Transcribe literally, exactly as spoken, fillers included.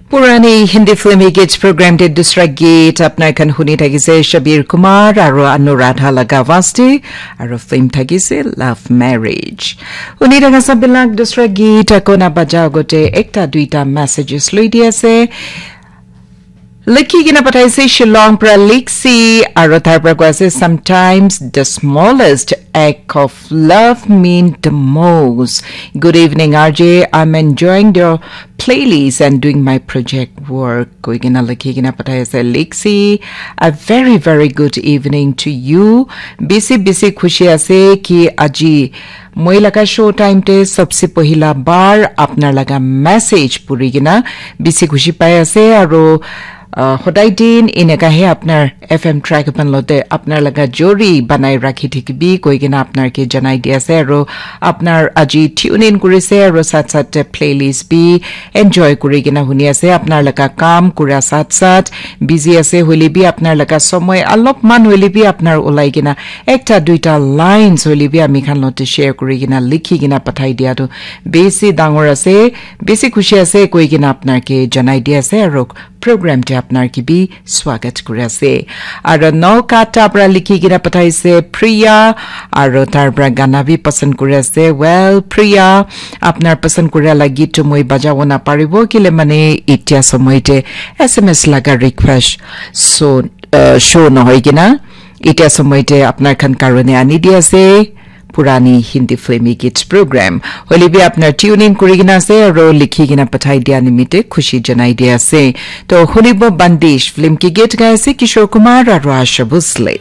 Purani Hindi film hits program te dusra geet apnar khan huni thakise Shabir Kumar aru Anuradha laga vaste aru film thakise Love Marriage. Huni thaka sabilak dusra geet akona baja agote ekta duita messages loi di ase. Likhi kena pathaise Shillong pra Liksi aru tar pra koise, sometimes the smallest act of love mean the most. Good evening, R J. I'm enjoying the playlist and doing my project work. Koi kena likhi kena pathaise Liksi. A very, very good evening to you. Bisi, bisi khushi ase ki aji moi laga show time te sabse pohila bar apnar laga message puri kena bisi khushi pai ase aru uh, hodai din eneka he apnar F M track pan lote apnar laga jori banai rakhi thakibi koi kena apnar ke janai di ase aru apnar aji tune in kuri ase aru sat sat te playlist bi enjoy kuri kena huni ase apnar laga kam kura sat sat busy ase hoile bi apnar laga somoy alop man hoile bi apnar ulai kena ekta duita lines hoile bi ami khan lote share kuri kena likhi kena pathai dia tu bisi dangor ase bisi khushi ase koi kena apnar ke janai di ase aru program te apnar ke bi swagat kuri ase. Aru Nokata pra likhi kena pathaise Priya, aru tar pra gana bi pasand kuri ase. Well, Priya, apnar pasand kura la geet tu moi bajabo na paribo kile mane itya somoy te S M S laga request so uh, show nohoi kena itya somoy te apnar khan karone ani di ase. Purani Hindi film hits program. Hoile bi apnar tune in kuri kena ase aru likhi kena pathai dia nimite khushi janai dia ase. To hunibo Bandish film ke geet gai ase Kishore Kumar aru Asha Bhosle.